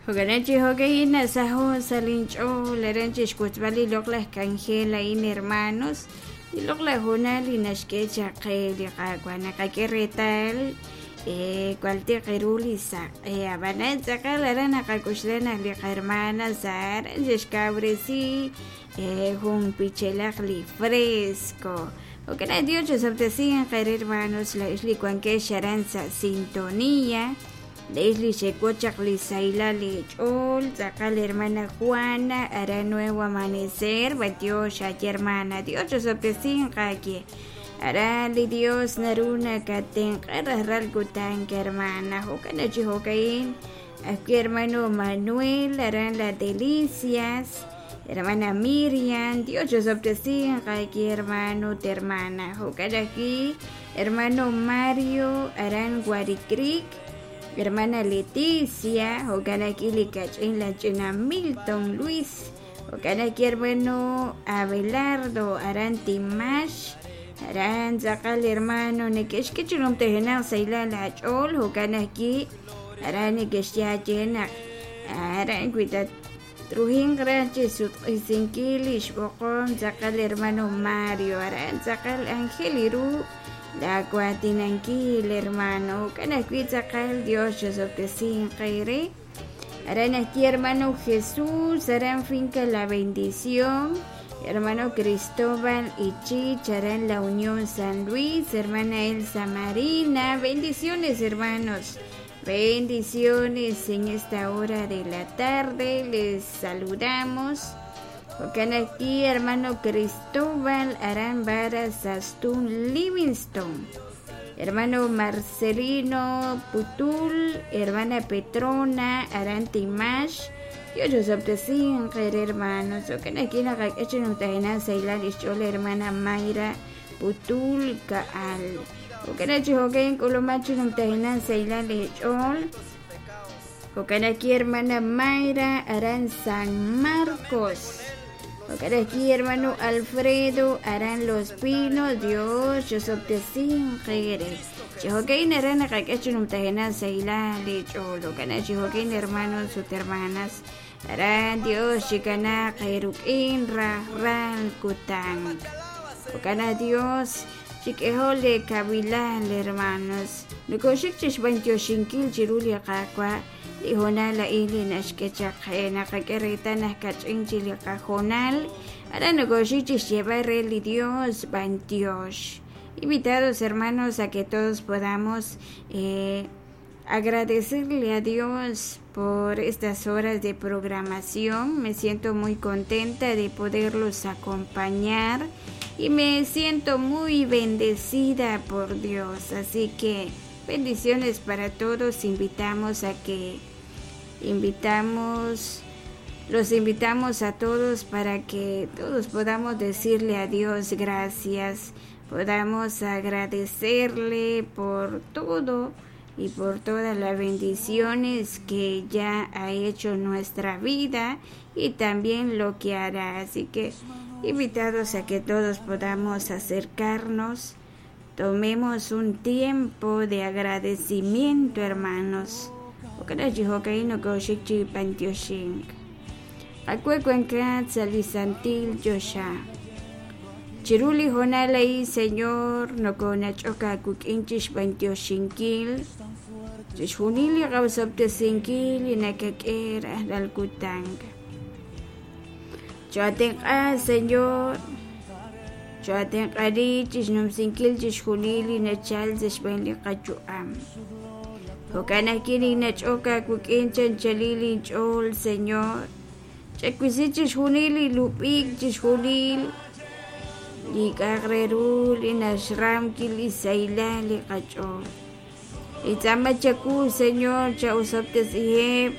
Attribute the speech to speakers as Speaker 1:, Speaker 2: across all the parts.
Speaker 1: Jo'kan chi jo'ka'in nasaho' sa' linch'ool aran chixwotzb'al li loq'laj k'anjel a'in hermanos, li loq'laj hoonal li naxk'e chaq qe li Qaawa' naqak'e reetal jwal tiq ru li saq'e ab'anan tz'aqal aran naqak'oxla naq li qahermana Sara xe'xkawresi jun pichelaq li fresco. Jo'kan naq Dios chisob'tesinq eere hermanos laa'ex li wankex aran sa' sintonía. Laa'ex li xewotz chaq li sahilal leech'ool, tz'aqal hermana Juana, aran Nuevo Amanecer, b'antiox aaye hermana, Dios chisob'tesinq aawe. Aran li Dios naru nakatenq'a rajlal kutan hermana, jo'kan naq chi jo'ka'in ajwi' hermano Manuel, aran La Delicias, hermana Miriam, Dios chisob'tesinq aawe hermano ut hermana, jo'kan ajwi' hermano Mario, aran Guaricreek, hermana Leticia, jo'kan ajwi' li kach'in la ch'ina Milton Luis, jo'kan ajwi' hermano Abelardo, aran Timax, aran tz'aqal hermano neke'xk'e chi numtajenaq sahilal aach'ool, jo'kan ajwi' aran neke'xye aaye naq aran wi tatruhinq raj chi sutq'isinkil li xb'oqom tz'aqal hermano Mario, aran tz'aqal anjel ru laawaatinankil hermano, jo'kan ajwi' tz'aqal Dios chisob'tesinq eere. Aran ajwi' hermano Jesús, aran Finca La Bendición, hermano Cristóbal Ichich, aran La Unión San Luis, hermana Elsa Marina, bendiciones hermanos, bendiciones en esta hora de la tarde, les saludamos. Jo'kan ajwi' hermano Cristóbal aran Varas Astún Livingston, hermano Marcelino Putul, hermana Petrona aran Timax, Dios chisob'tesinq eere hermanos, jo'kan ajwi' naqak'e chi numtajenaq sahilal xch'ool hermana Mayra Putul Ka'al. Jo'kan chi jo'kan k'ulumak chi numtajenaq sahilal eech'ool. Jo'kan ajwi' hermana Mayra aran San Marcos. Jo'kan ajwi' hermano Alfredo aran Los Pinos, Dios chisob'tesinq eere. Chi jo'kan aran naqak'e chi numtajenaq sahilal eech'ool. Jo'kan chi jo'kan hermanos ut hermanas aran Dios chikanaaq eeruk'in rajlal kutan. Jo'kan Dios chik'ehoq leekawilal hermanos. Nokoxik chi xb'antioxinkil chiru li Qaawa' li hoonal a'in li naxk'e chaq qe naqak'e reetal naq kach'in chi li qahoonal aran nokoxik chi xyeeb'al re li Dios b'antiox. Invitados hermanos a que todos podamos agradecerle a Dios por estas horas de programación. Me siento muy contenta de poderlos acompañar y me siento muy bendecida por Dios. Así que bendiciones para todos. Invitamos a que invitamos los invitamos a todos para que todos podamos decirle a Dios gracias, podamos agradecerle por todo y por todas las bendiciones que ya ha hecho en nuestra vida y también lo que hará. Así que invitados a que todos podamos acercarnos, tomemos un tiempo de agradecimiento, hermanos. Chiru li hoonal a'in Señor nokonach'ok aawik'in chixb'antioxinkil chixjunil li qaosob'tesinkil li nakak'e rajlal kutan. Choatenq'a Señor, choatenq'ani chixnumsinkil chixjunil li nachal sa' xb'een li qayu'am. Jo'kan ajwi' ninnach'ok aawik'in chanchalil inch'ool Señor, chawisi chixjunil li lub'ik, chixjunil li k'a'aq re ru li naxram li sahilal li qach'ool. Nintz'aama chawu Señor cha'osob'tesiheb'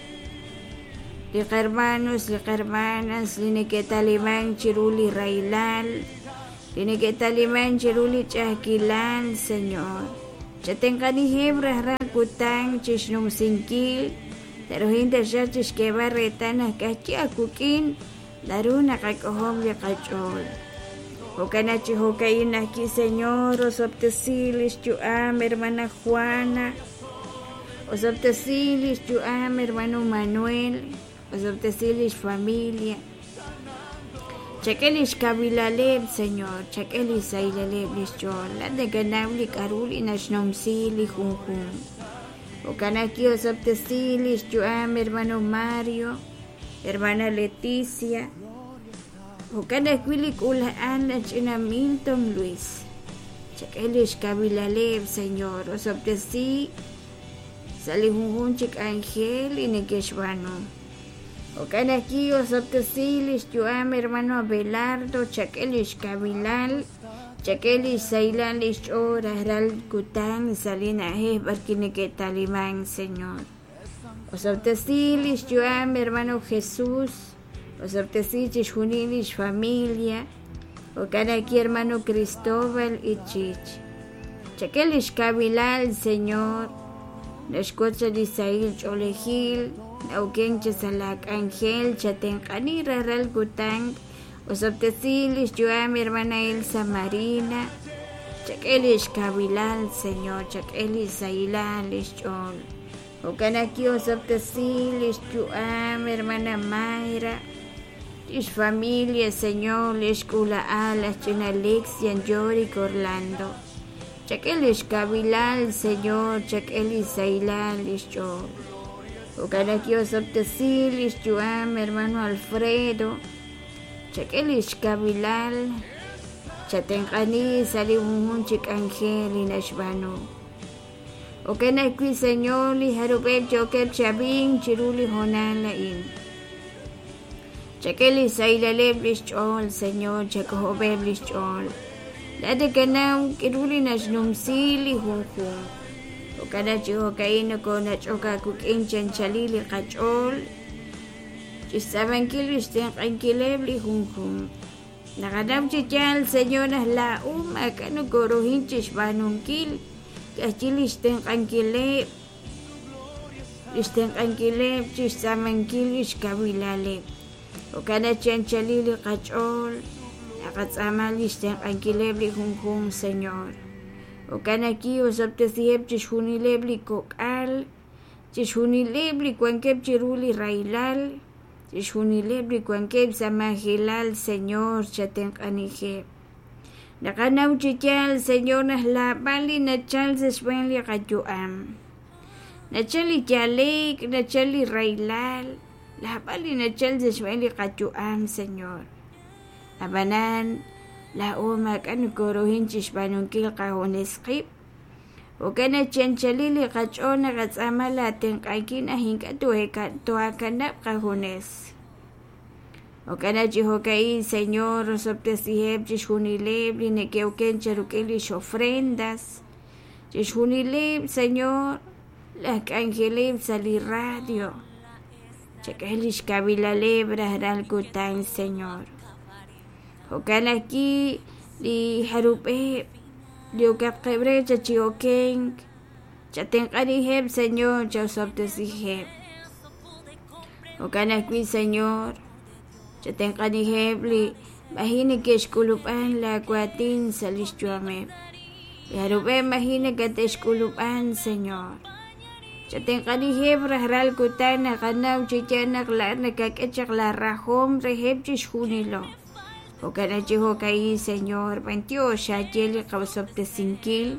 Speaker 1: li qahermanos, li qahermanas li neke'taliman chiru li rahilal, li neke'taliman chiru li ch'a'ajkilal Señor. Chatenq'aniheb' rajlal kutan chixnumsinkil taruhin taxaq chixk'eeb'al reetal naq k'ajchi' aawik'in naru naqak'ojob' li qach'ool. Jo'kan naq chi jo'ka'in ajwi' Señor osob'tesi li xyu'am hermana Juana, Osob'tesi lix yu'am hermano Manuel, osob'tesi lix familia. Chak'e lix kawilaleb', Señor, chak'e lix sahilaleb' lix ch'ool. Laa'at nakanaw li k'a'ru li naxnumsi li junjunq. Jo'kan ajwi' osob'tesi lix yu'am hermano Mario, hermana Leticia. Jo'kan ajwi' li k'uula'al laj ch'ina Milton Luis. Chak'e lix kawilaleb', Señor, osob'tesi sa' li junjunq chi k'anjel li neke'xb'aanu. Jo'kan ajwi' osob'tesi lix yu'am hermano Abelardo, chak'e lix kawilal, chak'e lix sahilal lix ch'ool rajlal kutan sa' li na'ajej b'arwi' neke'taliman, Señor. Osob'tesi lix yu'am hermano Jesús, osob'tesi chixjunil lix familia, jo'kan ajwi' hermano Cristóbal Ichich. Chak'e lix kawilal, Señor, naxwotz li sahil ch'oolejil, na'okenk chi sa' laa k'anjel, chatenq'ani rajlal kutan, osob'tesi lix yu'am hermana Elsa Marina, chak'e lix kawilal, Señor, chak'e lix sahilal lix ch'ool. Jo'kan ajwi' osob'tesi lix yu'am hermana Mayra, lix familia, Señor, lix k'uula'al laj ch'ina Alexian Yorick Orlando. Chak'e lix kawilal, Señor, chak'e lix sahilal lix ch'ool. Jo'kan ajwi' osob'tesi lix yu'am hermano Alfredo, chak'e lix kawilal, chatenq'ani sa' li junjunq chi k'anjel li naxb'aanu. Jo'kan ajwi', Señor, li jarub'eb' yookeb' chi ab'ink chiru li hoonal a'in. Chak'e li sahilaleb' lix ch'ool, Señor, chak'ojob'eb' lix ch'ool. Laa'at nakanaw k'aru li naxnumsi li junjunq. Jo'kan naq chi jo'ka'in nokoonach'ok aawik'in chi anchalil li qach'ool chixtz'aamankil lix tenq'ankileb' li junjunq. Naqanaw chi yaal, Señor, naq laa'o maak'a' nokooruhin chixb'aanunkil, ka'ajwi' lix tenq'ankileb', lix tenq'ankileb' chixtz'aamankil lix kawilaleb'. Jo'kan naq chi anchalil li qach'ool naqatz'aama lix tenq'ankileb' li junjunq, Señor. Jo'kan ajwi' osob'tesiheb' chixjunileb' li kok'al, chixjunileb' li wankeb' chiru li rahilal, chixjunileb' li wankeb' sa' majelal, Señor, chatenq'anijeb'. Naqanaw chi yaal, Señor, naq laab'al li nachal sa' xb'een li qayu'am. Nachal li yale'k, nachal li rahilal, laab'al li nachal sa' xb'een li qayu'am, Señor. Ab'anan, laa'o maak'a' nokooruhin chixb'aanunkil qajunes qib'. Jo'kan naq chi anchalil li qach'ool naqatz'aama laatenq'ankil naq ink'a' toohaakanab' qajunes. Jo'kan naq chi jo'ka'in, Señor, osob'tesiheb' chixjunileb' li neke'oken cheruk'il lix ofrendas, chixjunileb', Señor, laj k'anjeleb' sa' li radio. Chak'e lix kawilaleb' rajlal kutan, Señor. Jo'kan ajwi' li jarub'eb' li okaqeb' re chi okenk, chatenq'aniheb', Señor, chaosob'tesiheb'. Jo'kan ajwi', Señor, chatenq'aniheb' li maji' neke'xk'ulub'an laa waatin sa' lix yu'ameb'. Li jarub'eb' maji' nakate'xk'ulub'an, Señor. Chatenq'aniheb' rajlal kutan naqanaw chi yaal naq laa'at nakak'e chaq la rajom reheb' chixjunilo. Jo'kan naq chi jo'ka'in, Señor, b'antiox xaye li qaosob'tesinkil.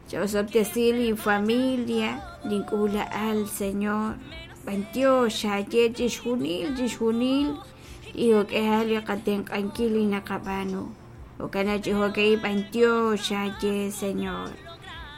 Speaker 1: Chaosob'tesi linfamilia, link'uula'al, Señor. B'antiox xaye chixjunil, chixjunil li jo'k'ihal li qatenq'ankil li naqab'aanu. Jo'kan naq chi jo'ka'in b'antiox xaye, Señor.